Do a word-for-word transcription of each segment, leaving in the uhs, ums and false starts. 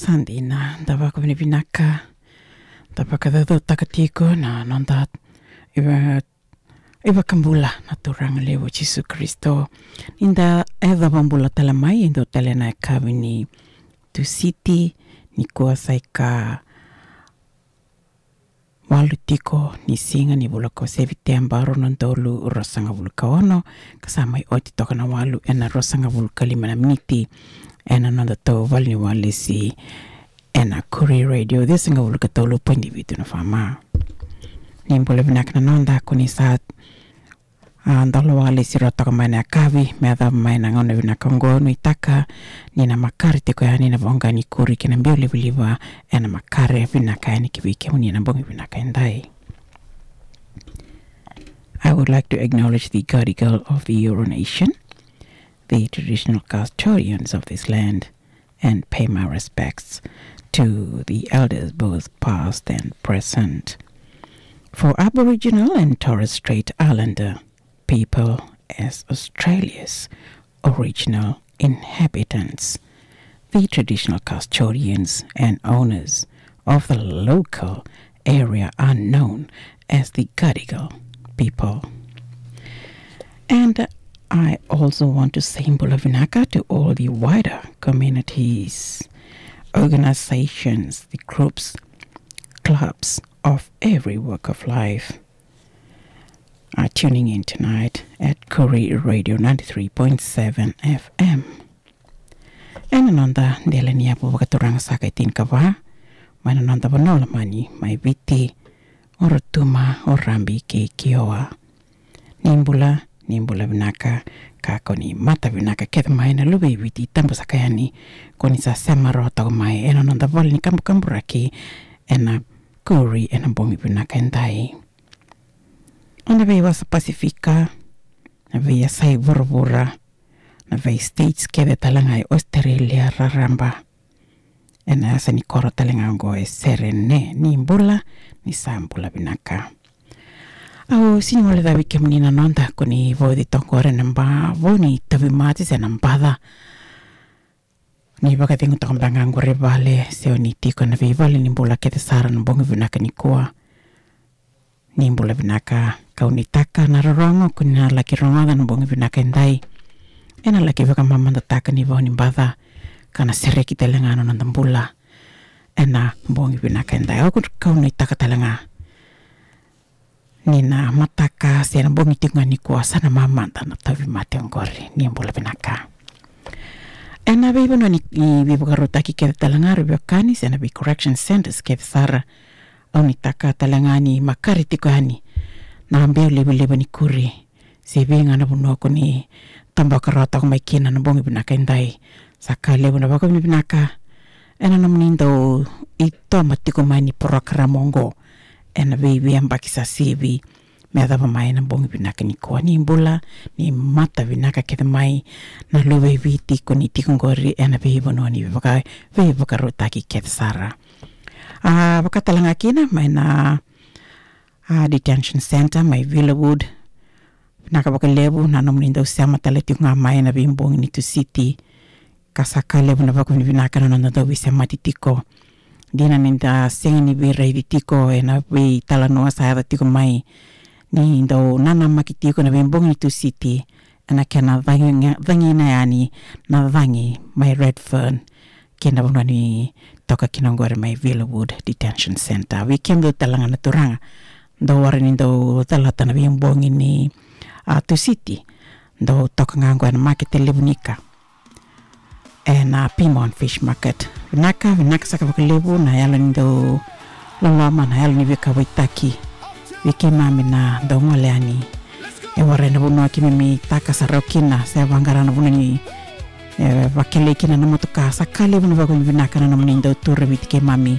Sa dina, da vakavinavinaka, da vakacaucautaka tiko na noda iva-, iVakabula na Turaga levu Jisu Karisito. Ni da yacova bula tale mai e dua tale na yakavi ni Tusiti, nikua sa ikawalu tiko ni siga ni vula ko Seviteba, rua na udolu ruasagavulu ka ono, ka sa mai oti toka na walu ena ruasagavulu ka lima na miniti ena noda tou valeniwalesi ena Koori Radio, ciwasagavulu ka tolu poidi vitu na FM. Ni bula vinaka na noda ko ni sa, a, dola walesi rua toka mai na yakavi me yacova mai na gauna vinaka oqo. Nuitaka ni na makare tiko yani na voqa ni Koori kei na biau livaliva ena makare vinaka yani ki vei kemuni na bogi vinaka edai. I would like to acknowledge the Gadigal of the Eora Nation, the traditional custodians of this land, and pay my respects to the elders, both past and present. For Aboriginal and Torres Strait Islander people as Australia's original inhabitants, the traditional custodians and owners of the local area are known as the Gadigal people. And I also want to say bula vinaka to all the wider communities, organizations, the groups, clubs of every walk of life are tuning in tonight at Koori Radio ninety-three point seven FM. Ena noda dela ni yavu vakaturaga saka e tinikava mai na noda vanua lomani mai Viti, o Rotuma, o Rabi kei Kioa. Ni bula, ni bula vinaka, ka ko ni mata vinaka kece mai na luve i Viti tabu saka yani ko ni sa sema rawa toka mai ena noda vale ni kabukaburaki ena Koori ena bogi vinaka edai. Ena veiwasa Pasifika, na veiyasai vuravura, na vei states kece tale ga e Australia raraba, ena yasa ni koro tale ga oqo e Serene. Ni bula, ni sa bula vinaka. Au sini gole cavi kemuni na noda ko ni vauci toka qori ena ba, vau ni tauvimate se na baca. Ni vakacegu toka beka ga qori e vale se o ni tiko ena veivale ni bula kece sara na bogi vinaka nikua. Ni bula vinaka, kau nuitaka na rorogo ko ni na laki rogoca na bogi vinaka edai. Ena laki vakamamadataka ni vau ni baca ka na sereki tale ga na noda bula ena bogi vinaka edai. Au kau nuitaka tale ga ni na mataka se na bogi tiko ga nikua sa na mamada na tauvimate oqori. Ni bula vinaka. Ena veivanua ni, i veivakarautaki kece tale ga, ra veiwekani se na vei correction centres kece sara, au nuitaka tale ga ni makare tiko yani na biau livaliva ni Koori se vei ga na vanua ko ni tabaka rawa toka mai kina na bogi vinaka edai. Sa ka levu na vakavinavinaka ena nomuni dau itoma tiko mai ni porokaramu oqo ena veiyabaki sa sivi me yacova mai na bogi vinaka nikua. Ni bula, ni mata vinaka kece mai na luve i Viti ko ni tiko qori ena veivanua ni veivaka-, veivakarautaki kece sara. A, vaka tale ga kina mai na, a, detention centre mai Villawood. Vinaka vakalevu na nomuni dau sema tale tiko ga mai ena veibogi ni Tusiti. Ka sa ka levu na vakavinavinaka na noda dau veisemati tiko. Dina ni da sega ni veiraici tiko ena veitalanoa sa yaco tiko mai, ni dau nanamaki tiko na veibogi ni Tusiti ena kena cagi-, cagina yani na cagi mai Redfern kei na vanua ni toka kina oqori mai Villawood Detention Centre. Vei kemudou tale ga na turaga dau wara ni dau calata na veibogi ni, a, Tusiti, dau toka ga oqo ena makete levu ni ika ena Pyrmont Fish Market. Vinaka, vinaka saka vakalevu na yalo ni dau loloma, na yalo ni veikauwaitaki vei keimami na dau gole yani e warai na vanua keimami taka sara kina se vaqara na vanua ni, e, vakelei kina na motoka. Sa ka levu na vakavinavinaka na nomuni dau tu raviti keimami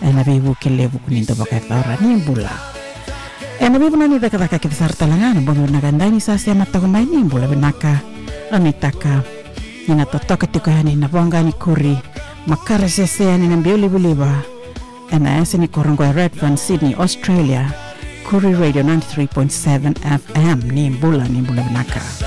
ena veivuke levu ko ni dau vakayacora. Ni bula. Ena veivanua ni cakacaka kece sara tale ga na bogi vinaka edai, ni sa sema toka mai, ni bula vinaka. Au nuitaka ni na totoka tiko yani na voqa ni Koori, makare sese yani na biau livaliva ena yasa ni koro oqo e Redfern, Sydney, Australia. Koori Radio ninety-three point seven FM. Ni bula, ni bula vinaka.